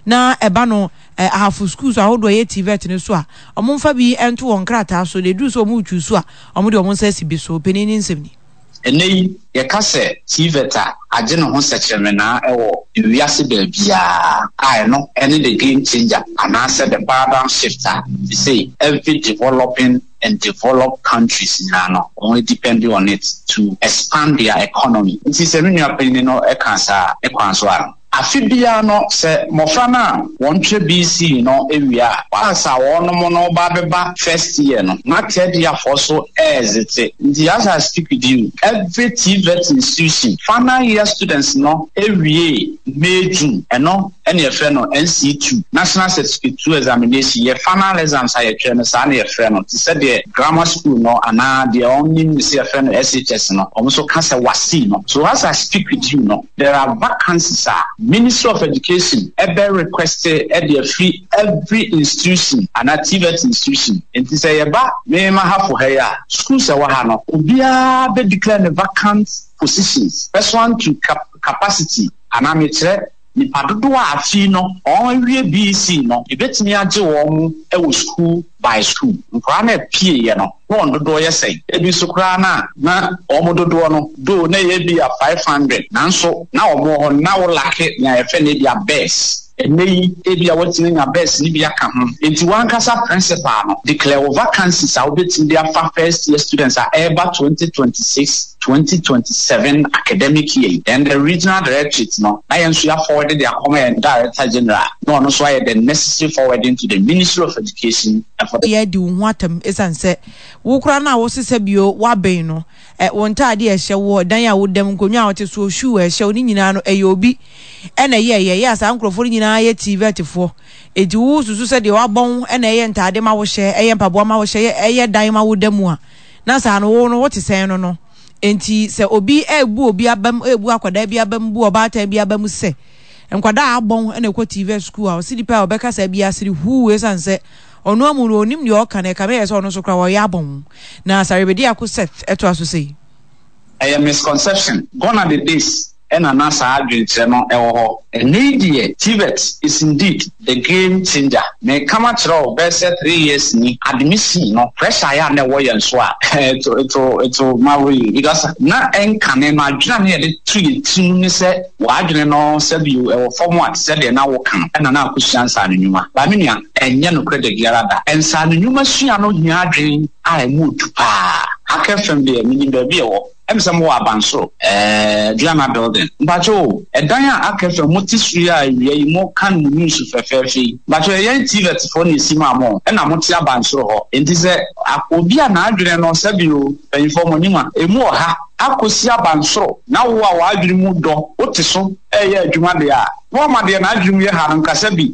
Na ɛba no Ahafo schools ahodoɔ a ɛyɛ TVET no so a, wɔmfa bi nto wɔn nkrataa so, na ɛduru sɛ wɔretwi so a, wɔde wɔn nsa asi bi so. Panin no nsɛm ni. Ɛnnɛ yi, yɛka sɛ TVET a, agye ne ho sɛkyerɛmenaa wɔ wiase baabiara a ɛno ne the game changer anaasɛ the paradigm shift a seesei every developing and developed countries nyinaa no wɔn depend on it to expand their economy. Nti sɛ me nua panyin no ka saa a, ne kwan so ara no. Afe biara no, sɛ mmɔfra no a wɔtwerɛ BC no wie a, whilst a wɔnom no ba bɛba first year no, na third year foɔ so ɛɛzete. Nti as I speak with you, every TVET institution, final year students no wiee May, June, ɛno ɛna yɛfrɛ no NC2, National Certificate 2 Examination, yɛ final exams a yɛtwerɛ no saa na yɛfrɛ no, te sɛ deɛ grammar school no anaa deɛ wɔnim no sɛ yɛfrɛ no SHS no, wɔn nso ka sɛ WASSCE no. So as I speak with you no, There are vacancies a Ministry of Education bɛ request de afiri every institution anaa TVET institution. Nti sɛ yɛba me Mahafo ha yi a, schools a ɛwɔ ha no, obiara bɛ declare ne vacant positions pursuant to capacity anaa mekyerɛ nipa dodoɔ a afei no wɔn awie BEC no, yɛbɛtumi agye wɔn wɔ school by school. Nkwadaa no a ɛpieeɛ no, na wɔn dodoɔ yɛ sɛn? Ebi nso koraa no a, na wɔn dodoɔ no, though na ɛyɛ ebia 500, nanso na wɔn wɔ hɔ no, na wo lacke nea yɛfrɛ no ebia beds. Ɛnnɛ yi, ebia woatumi anya beds no bi aka ho. Enti w'ankasa principal no, declare wo vacancies a wobɛtumi de afa first year students a ɛreba 2026, 2027 academic year yi. Then the regional directorate no, na yɛn nso yɛaforward de akɔma yɛn director general, na ɔno nso ayɛ the necessary forwarding to the Ministry of Education and for the. Yɛ adi wo ho atɛm esiane sɛ wo koraa no a wose sɛ bio woabɛn no, ɛ, wo ntaade a ɛhyɛ woɔ, dan a woda mu, nkonnwa a wote soɔ, shoe a ɛhyɛ wo, ne nyinaa no, ɛyɛ obi na ɛyɛeɛ. Ɛyɛ a saa nkurɔfoɔ no nyinaa yɛ TVETfoɔ. Enti wosusu sɛ deɛ wabɔn na ɛyɛ ntaade ma wohyɛ, ɛyɛ mpaboa ma wohyɛ, ɛyɛ dan ma woda mu a, na saa no wo no wote sɛn no no. Enti sɛ obi rebu obi abam, rebu akwadaa bi abam, bu ɔbaatan bi abam sɛ nkwadaa a abɔn na ɛkɔ TVET sukuu a, ɔse nipa a ɔbɛka saa biara sere huu esiane sɛ ɔno amu no ɔnim deɛ ɔka no, ɛkame yɛ sɛ ɔno nso koraa ɔyɛ abɔn. Na Sarebediako Seth toa so sei. Ɛyɛ misconception. Gone are the days ɛna na saa adwenkyerɛ no wɔ hɔ. Ɛnnɛ yi deɛ TVET is indeed the game changer. Meka makyerɛ wo bɛyɛ sɛ 3 years ni, admission no pressure ayɛ a na ɛwɔ yɛn so a it will, it will, it will marvel you because na ɛnkane no adwene a na yɛde to yɛn tirim ne sɛ w'adwene no sɛbio ɛwɔ fam a te sɛ deɛ na woka no ɛna na akɔsua nsaano nnwuma. But me nua, ɛnyɛ nokorɛ da biara da. Nsaano nnwuma sua no hia adwene a ɛmu ɔdu paa. Hack FM deɛ menim baabi ɛwɔ. Ɛm sɛ mowɔ abansoro ɛɛ Duana building. Mpakyɛ o, ɛdan a aka fam mote soro yi a awia yi mo kan mo news fɛfɛɛfɛ yi. Mpakyɛ yɛn TVET foɔ na esi maa mo ɛna mote abansoro hɔ. Enti sɛ obi a n'adwene no sɛbi o mpanyinfoɔ mo nim a emu ɔha akɔsi abansoro na wo a w'adwene mu dɔ wote so ɛɛyɛ adwuma deɛ a na wama deɛ n'adwene mu yɛ ha no nkasa bi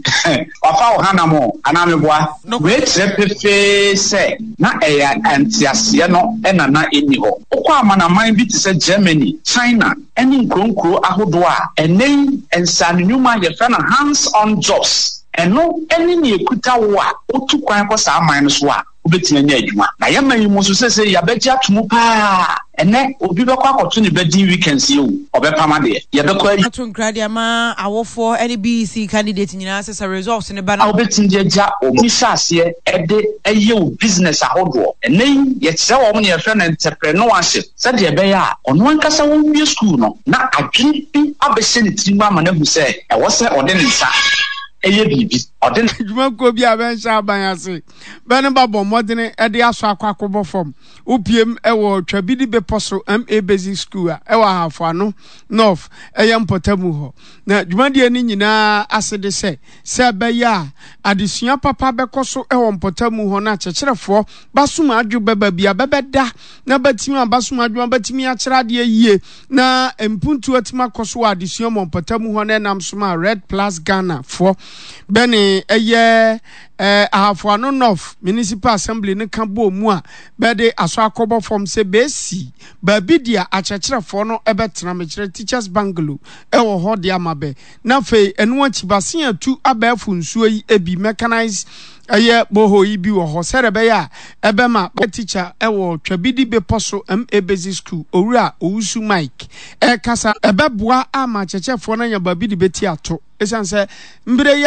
wafa wo hanam o anaa meboa? Wei kyerɛ pefee sɛ na ɛyɛ nteaseɛ no na na ɛnni hɔ. Wokɔ amanaman bi te sɛ Germany, China ne nkuro nkuro ahodoɔ a, ɛnnɛ yi nsaano nnwuma yɛfrɛ no hands on jobs, ɛno ne nea ɛkuta wo a wotu kwan kɔ saa man no so a wobɛtumi anya adwuma. Na yɛn man yi mu nso seesei yɛabɛgye ato mu pa ara. Ɛnnɛ obi bɛkɔ akɔto ne ba din weekends yi o, ɔbɛpam adeɛ. Yɛbɛkɔ ayi. Ato nkra de ama awofoɔ ne BEC candidate nyinaa sɛ sɛ results no ba na. A wobɛtumi de agya wɔn hyɛ aseɛ de yɛ wo business ahodoɔ. Ɛnnɛ yi yɛkyerɛ wɔn nea yɛfrɛ no entrepreneurship sɛdeɛ ɛbɛyɛ a ɔno ankasa ɔnwie sukuu no na adwene bi abɛhyɛ ne tirim ama no ahu sɛ ɛwɔ sɛ ɔde ne nsa yɛ biribi. Ɔde ne. Adwumakuo bi a bɛnhyɛ aban ase bɛ no ba bɔ mmɔdene de asɔ akɔ akɔbɔ fam. Wopiem wɔ Twabidi Bepɔ so MA Basic School a ɛwɔ Ahafo Ano North ɛyɛ mpɔtamu hɔ. Na dwumadie no nyinaa ase de sɛ, sɛ ɛbɛyɛ a adesua papa bɛkɔ so wɔ mpɔtamu hɔ na akyerɛkyerɛfoɔ basom adwo bɛba bi a bɛbɛda na batumi a basom adwo batumi akyerɛ adeɛ yie na mpuntuo atumi akɔ so wɔ adesua mu wɔ mpɔtamu hɔ na ɛnam so ma Red Plus Ghana foɔ bɛne ɛyɛ eh, Ahafo Ano North Municipal Assembly no ka bɔɔ mu a bɛde asɔ akɔbɔ fam sɛ bɛasi baabi deɛ akyerɛkyerɛfoɔ no bɛtena, mekyerɛ Teachers Bungalow, wɔ hɔ de ama bɛ. Na afei ɛno akyi bɛasen atu abɛɛfo nsuo yi bi, mechanized ɛyɛ borehole yi bi wɔ hɔ sɛdeɛ ɛbɛyɛ a ɛbɛma bɛ teacher wɔ Twabidi Bepɔ so MA Basic School, Owura Owusu Mike ɛrekasa. Ɛbɛboa ama akyerɛkyerɛfoɔ no anya baabi de bɛti ato ɛsiane sɛ mmerɛ yi a.